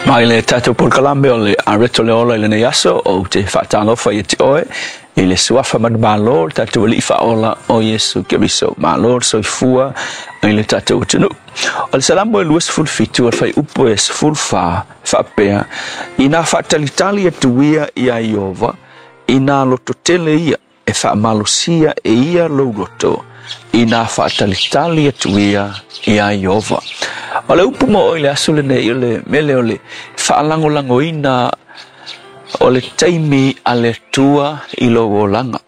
Mai le tatou polokalame o le Areto le Ola i lenei aso, ou te faatalofa ia te oe i le suafa manumalo, le tatou Alii Faaola o Iesu Keriso. Malo le soifua i le tatou atunuu. O le Salamo e 27 o le fuaiupu e 14 faapea, Inā faatalitali atu ia iā Ieova, inā lototele ia, e faamalosia e ia lou loto, inā faatalitali atu ia iā Ieova. O le upu mo oe i le aso lenei, o le mele o le faalagolagoina o le taimi a le Atua i lou olaga.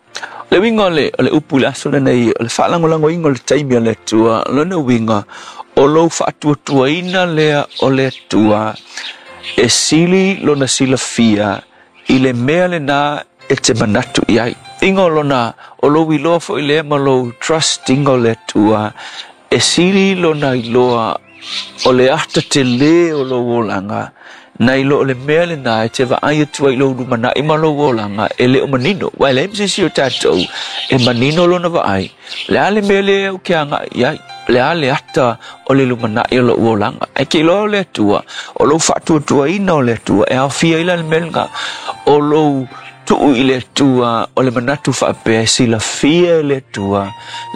O le uiga o le upu i le aso lenei, o le faalagolagoina o le taimi a le Atua, o lona uiga, o lou faatuatuaina lea o le Atua e sili lona silafia i le mea lena e te manatu i ai. Inga o lona, o lou iloa foi lea ma lou trust inga o le Atua, e sili lona iloa o le ata telē o lou olaga, nai lo o le mea lena e te vaai atu ai i lou lumanai ma lou olaga e le o manino. Aua e leai ma se isi o tatou e manino lona vaai, o le a le mea lea ou te agai i ai, o le a le ata o le lumanai o lou olaga. Ae te iloa o le Atua, o lou faatuatuaina o le Atua, e aofia ai la le mea lena, o lou tuu i le Atua o le manatu faapea e silafia e le Atua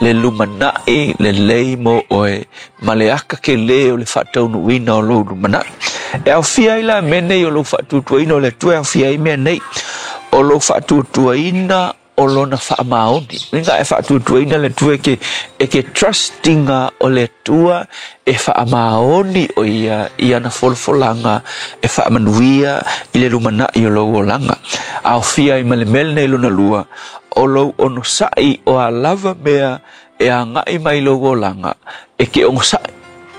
le lumanai lelei mo oe ma le aka kelē o le faataunuuina o lou lumanai. E aofia ai la mea nei o lou faatuatuaina o le Atua, e aofia ai mea nei, o lou faatuatuaina o lona faamaoni. Uiga e faatuatuaina le Atua e ke trust inga o le Atua e faamaoni o ia i ana folafolaga e faamanuia i le lumanai o lou olaga. Aofia ai ma le mea lenei lona lua, o lou onosai o a lava mea e agai mai lou olaga e ke onosai,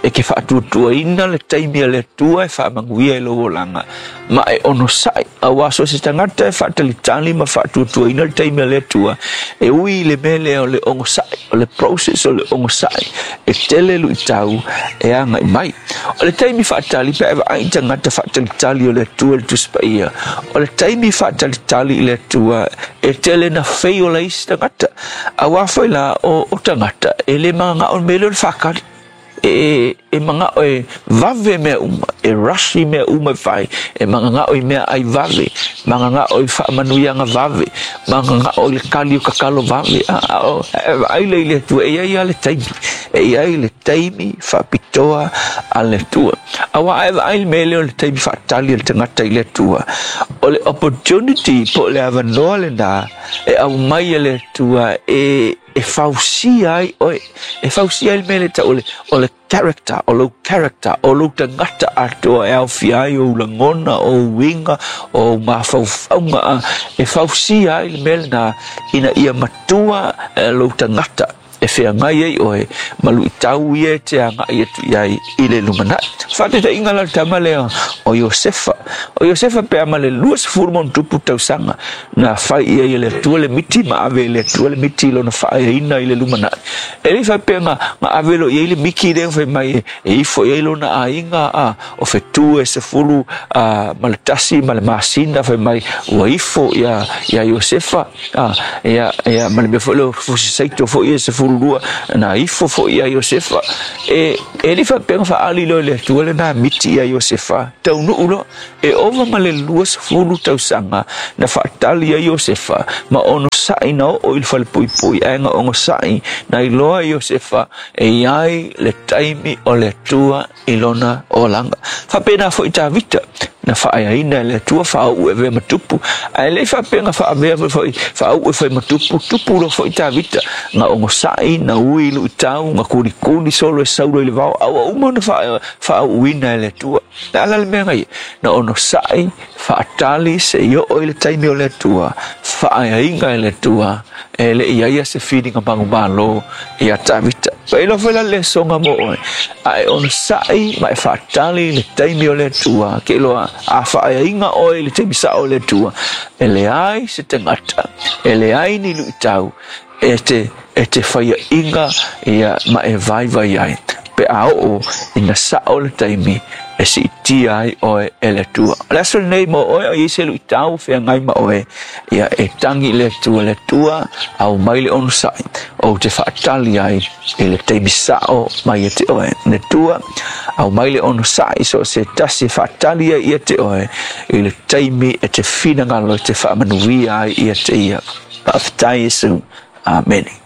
e ke faatuatuaina le taimi a le Atua e faamanuia i lou olaga, ma e onosai, auā so o se tagata e faatalitali ma faatuatuaina le taimi a le Atua, e ui i le mea lea o le onosai, o le process o le onosai, e tele luitau e agai mai. O le taimi faatali, pe a e vaai i tagata faatalitali o le Atua i le Tusi Paia, o le taimi faatalitali i le Atua, e tele na fail ai isi tagata. Auā foi la o tagata e le mananao i le mea lea o le faatali. E manao e vave mea uma, e rush i mea uma e fai, e mananao i meaai vave, mananao i faamanuiaga vave, mananao i le kali o tatalo vave. A o e vaai lea i le Atua, e i ai lava le taimi, e i ai le taimi faapitoa a le Atua. Auā a e vaai i le mea lea o le taimi faatali a le tagata i le Atua, o le opportunity po o le avanoa lena e aumai e le Atua e e fausia ai oe, e fausia ai le mea lea e tau o le character, o lou character, o lou tagata atoa e aofia ai ou lagona, o ou uiga, o ou mafaufauga, e fausia ai le mea lena ina ia matua lou tagata e feagai ai oe ma luitau ia e te agai atu i ai i le lumanai. Faataitaiga la le tama lea o Iosefa. O Iosefa pe a ma le 20 ma ona tupu tausaga na fai i ai e le Atua le miti ma ave e le Atua le miti i lona faaeaina i le lumanai. E le i faapea na ave loa i ai le miti lea fai mai e ifo i ai lona aiga a o fetu e 11 ma le masina fai mai ua ifo ia Iosefa ia ia ma le mea foi lea o fusi saito foi e 12 na ifo foi ia Iosefa. E le i faapea na faaali loa e le Atua lena miti ia Iosefa taunuu loa. E ova ma le 20 tausaga na faatali ai Iosefa ma onosai na oo i le falepuipui, ae na onosai na iloa Iosefa e i ai le taimi o le Atua i lona olaga. Faapena foi Tavita na faaeaina e le Atua faauu e avea ma tupu, ae le i faapea na faavea foi faauu e fai ma tupu, tupu loa foi Tavita na onosai, na ui luitau, na kulikuli solo e Saulo i le vao, a ua uma ona faauuina e le Atua. Le a la le mea na ia? Na onosai, faatali seia oo i le taimi o le Atua, faaeaina e le Atua, e le i ai se filiga manumalo ia Tavita. Pa iloa foi la le lesoga mo oe, a e onosai ma e faatali i le taimi o le Atua, ke iloa a faaeaina oe i le taimi sao o le Atua, e leai se tagata, e leai ni luitau e te faiaʻiga ia ma e vaivai ai pe a oo ina sao le taimi. e siitia ai oe e le Atua. O le aso lenei mo oe o i ai se luitau o feagai ma oe, ia e tagi i le Atua, le Atua, aumai le onosai, ou te faatali ai i le taimi sao mai ia te oe. Le Atua, aumai le onosai so o se tasi e faatali ai ia te oe i le taimi e te finagalo e te faamanuia ai ia te ia. Faafetai Iesu. Amene.